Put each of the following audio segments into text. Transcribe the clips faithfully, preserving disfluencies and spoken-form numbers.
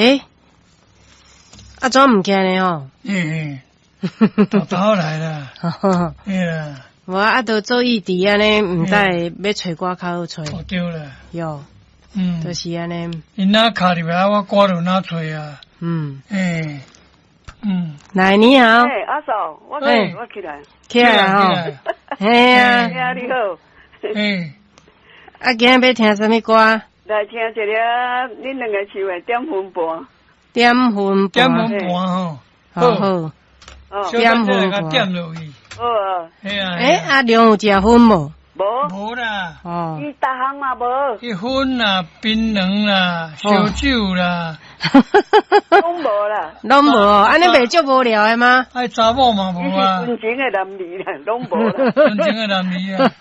欸，啊怎毋起呢吼？欸，豆豆來啦，嘿啦。無啊，都做義弟按呢，毋知欲揣歌較好揣。哦，對啦。喲，嗯，就是按呢。伊若敲入來，我歌就哪揣啊？嗯。欸，嗯。來，你好。欸，阿嫂，我我起來。起來吼。嘿啊。嘿啊，你好。欸。啊，今日欲聽啥物歌？來聽一個恁兩个唱的《點分盤》。點分盤。點分盤吼。好好。點分盤。點落去。好啊。嘿啊。欸，阿良有食薰無？無。無啦。哦。伊逐項嘛無。伊薰啦，檳榔啦，燒酒啦。攏無啦。攏無，按呢袂足無聊的嗎？愛查某嘛無啊。伊是純情的男兒啦，攏無啦。純情的男兒啊。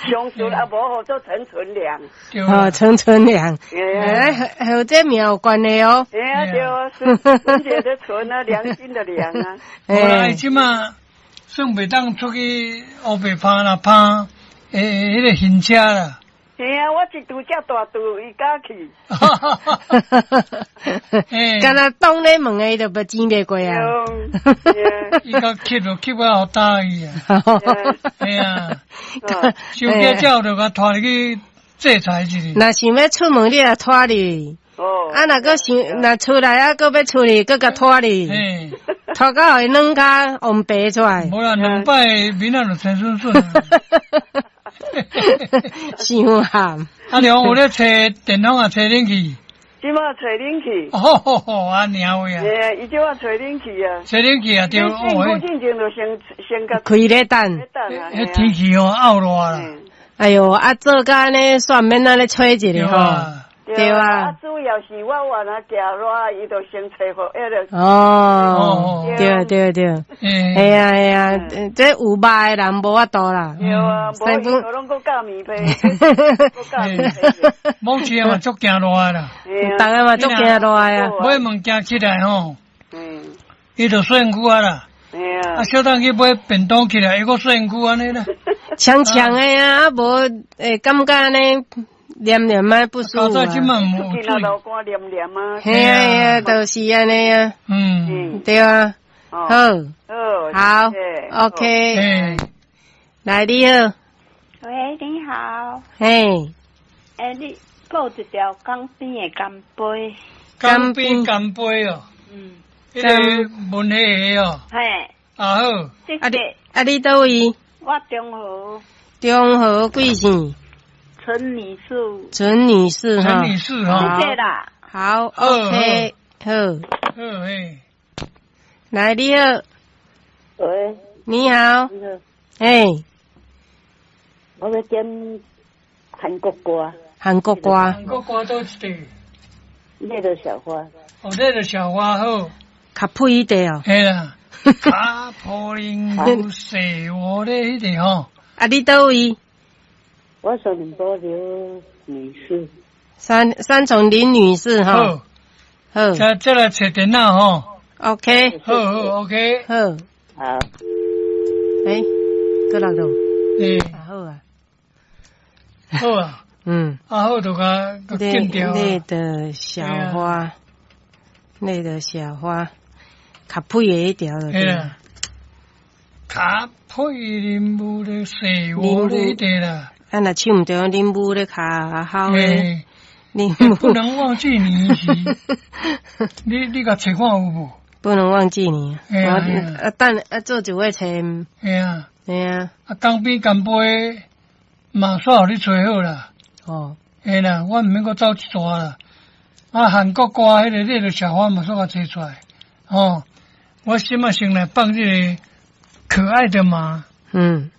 上述啊無號做陳純良。哦，陳純良。欸，和這名有關係哦。欸啊，對啊，純潔的純啊，良心的良啊。無啦，伊這馬算袂當出去烏白拍啦，拍欸彼个行車啦。嘿啊，我一拄遮大肚，伊敢去。敢若擋咧門的，伊就欲錢袂過啊。伊共吸就吸到予焦去啊。嘿啊，傷驚鳥就共拖入去制裁一下。若想欲出門，你也拖入。哦。啊，若閣想，若出來啊，閣欲出去，閣共拖入。拖到予伊軟跤黃白出來。無啦，兩擺面仔就青順順。傷譀。阿良有咧吹電風啊，吹冷氣。這馬吹冷氣。哦，啊娘喂啊！嘿啊，伊這馬吹冷氣啊。吹冷氣啊，對。政府進前就先先共開咧等。彼天氣哦，漚熱啦。哎喲，啊做甲按呢，煞毋免按呢吹一下吼。對啊。啊，主要是我原來行熱，伊就先吹予彼个。哦，對對對。嘿啊嘿啊，這有肉的人無法度啦。對啊，無伊就攏閣教棉被。閣棉被。某時嘛足驚熱啦。逐个嘛足驚熱啊。買物件起來吼，伊就洗身軀啊啦。啊，小等去買便當起來，伊閣洗身軀按呢啦。強強的啊，啊無會感覺按呢黏黏啊不舒服啊。這馬無水。流汗黏黏啊。嘿啊嘿啊，就是按呢啊。嗯。對啊。好。好。好。OK。來，你好。喂，你好。嘿。欸，你報一條江邊的乾杯。江邊乾杯哦。嗯。彼个文學的哦。嘿。啊好。啊你啊你佗位？我中和。中和貴姓？陳女士。陳女士哈。陳女士哈。謝謝啦。好，OK，好。好嘿。來，你好。喂。你好。你好。嘿。我欲點韓國歌。韓國歌。韓國歌佗一塊？淚的小花。哦，淚的小花好。較配彼塊哦。嘿啦。卡破林有說我的彼塊吼。啊，你佗位？我三重林女士。三三重林女士吼。好。再再來揣電腦吼。 OK。好好 OK。好。好。欸，閣落囉。欸。好啊。好啊。嗯。啊好，就共共剪掉。淚的小花，淚的小花，較配的彼條就對。較配恁母咧生我咧彼塊啦。啊，若唱毋著，恁母咧較好咧。恁母不能忘記你是，你你共揣看有無？不能忘記你。啊等啊做一位揣。嘿啊。嘿啊。啊，江邊乾杯嘛煞予你揣好啦。哦。嘿啦，我毋免閣走一逝啦。啊，韓國歌彼个淚的小花嘛，煞共揣出來。哦，我這馬先來放這个可愛的馬。嗯。